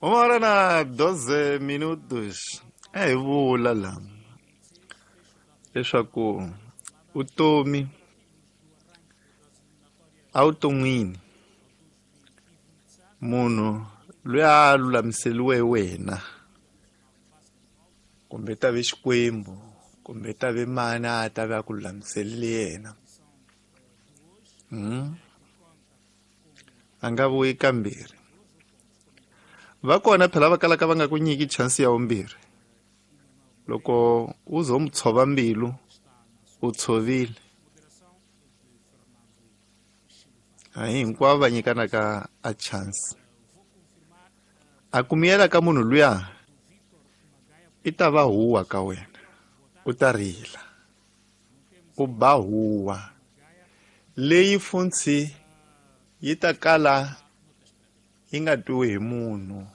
Uma hora na 12 minutos. A hi vula la leswaku vutomi evuton'wini munhu loyi a lulamiseriwe wena kumbe ta ve Xikwembu kumbe ta ve mani a ta ve a ku lulamiserile yena a nga vuyi kambirhi. Va kona phela va kalaka va nga ku nyiki chance ya vumbirhi. Loko u zo mu tshova mbilu u tshovile. A hi hinkwavo va nyikanaka a chance. A ku miyela ka munhu luya i ta va huwa ka wena, u ta rila, u ba huwa leyi funtshi yi ta kala yi nga twiwi hi munhu.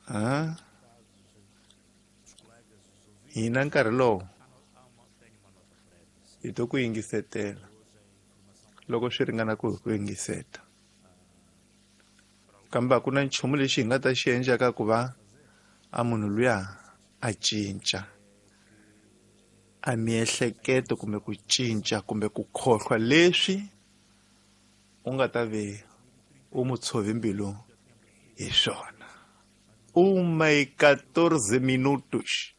Ha hina nkarhi lowu hi to ku yingisetela loko swi ringana ku hi ku yingiseta, kambe a ku na nchumu lexi hi nga ta xi endlaka ku va a munhu luya a cinca a miehleketo kumbe ku cinca kumbe ku khohlwa leswi u nga ta ve u mu tshove mbilu hi swona. Uma e 14 minutos.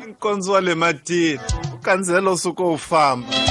Nkondzo wa le matini u kandziyela u suka u famba.